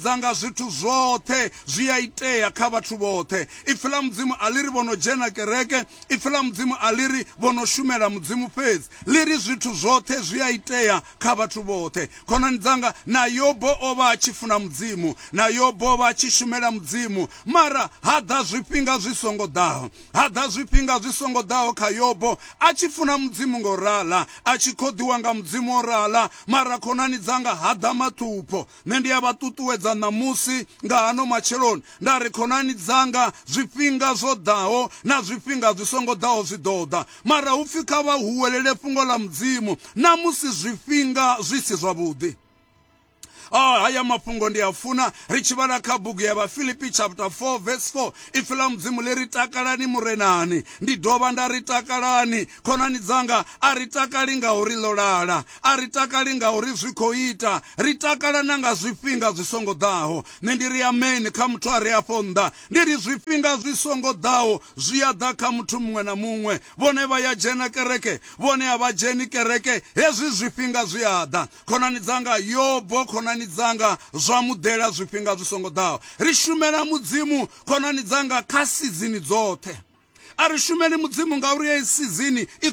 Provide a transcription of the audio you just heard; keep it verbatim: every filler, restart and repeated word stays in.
Dzanga zwithu zwoṱhe zwi a itea kha vhathu vhoṱhe. Ipfi ḽa Mudzimu a ḽi ri vho no dzhena kereke, ipfi ḽa Mudzimu a ḽi ri vho no shumela Mudzimu fhedzi, ḽi ri zwithu zwoṱhe zwi a itea kha vhathu vhoṱhe. Khonani dzanga, na Yobo o vha a tshi funa Mudzimu, na Yobo o vha a tshi shumela Mudzimu, mara ha ḓa zwifhinga zwi songo ḓaho, ha ḓa zwifhinga zwi songo ḓaho kha Yobo, a tshi funa Mudzimu ngo rala, a tshi khoḓiwa nga Mudzimu o rala, mara khonani dzanga ha ḓa maṱhupho. Nṋe ndi a vha ṱuṱuwedza ṋamusi nga hano matsheloni nda ri khonani dzanga, zwifhinga zwo ḓaho na zwifhinga zwi songo ḓaho zwi ḓo ḓa, mara hu pfi kha vha huwelele fhungo ḽa Mudzimu na musi zwifhinga zwi si zwavhuḓi. Oh, haya mafhungo ndi a funa ri tshi vhala kha bugu ya Vhafilipi chapter four verse four. Ipfi ḽa Mudzimu ḽi ri takalani Murenani. Ndi dovha nda ri takalani. Khonani dzanga, a ri takali ngauri ḽo lala, a ri takali ngauri zwi khou ita, ri takala na nga zwifhinga zwi songo ḓaho. Nṋe ndi ri amen kha muthu a re afho nnḓa, ndi ri zwifhinga zwi songo ḓaho zwi a ḓa kha muthu muṅwe na muṅwe. Vhone vha ya dzhena kereke, vhone a vha dzheni kereke, hezwi zwifhinga zwi a ḓa. Khonani dzanga, Yobo, khonani dzanga, zwa mu ḓela zwifhinga zwi songo ḓaho. Ri shumela Mudzimu, khonani dzanga, kha sizini dzoṱhe. A ri shumeli Mudzimu ngauri heyi sizini i